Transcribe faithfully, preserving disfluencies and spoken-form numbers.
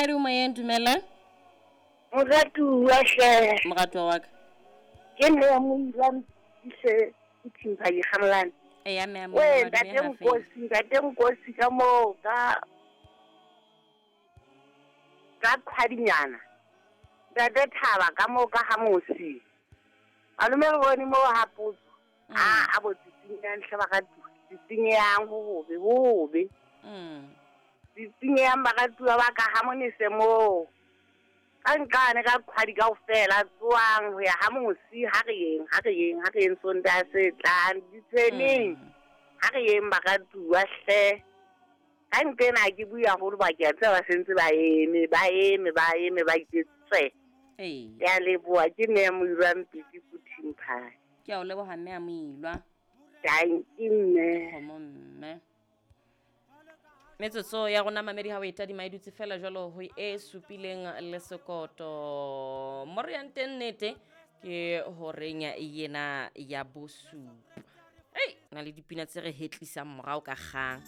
Moradi o moyeng, dumela. Moratuwa hle. Moratuwa wa ka. Ke mme ya Moilwa Mpise Thimpha Dikgamolane. Eya mme ya We Moilwa, ntate dumela feela. Nkosi, ntate Nkosi ka moo ka ka kgwadinyana. Ntate Thaba ka moo ka ha mosi. Malome re bone moo ha potso. Mm. A a bo tsitsinyang hle baratuwa. Tsitsinyang ho hobe, ho hobe. Mm. Tsitsinyang baratuwa ba ka ha monese moo. Ka nqane ka kgwadi kaofela tsoang ho ya ha mosi, ha re yeng, ha re yeng, ha re yeng Sontaha se tlang, ditshweneng. Mm. Ha re yeng baratuwa hle. Ka nqena ha ke bue haholo ba ke a tseba ba sentse ba eme, ba eme, ba eme, ba itse tswe. Ee. Ke a leboha, ke mme ya Moilwa Mpiti ko Thimpha. Ke a o leboha mme ya Moilwa. Dankie mme. Kgomo mme. Metsotso ya rona mamedi ha o e tadima e dutse fela jwalo ho e supileng le sekoto. Mo re yang teng nnete ke horeng yena ya bosupa. Ei, na le dipina tse re hetlisang morao ka kgang.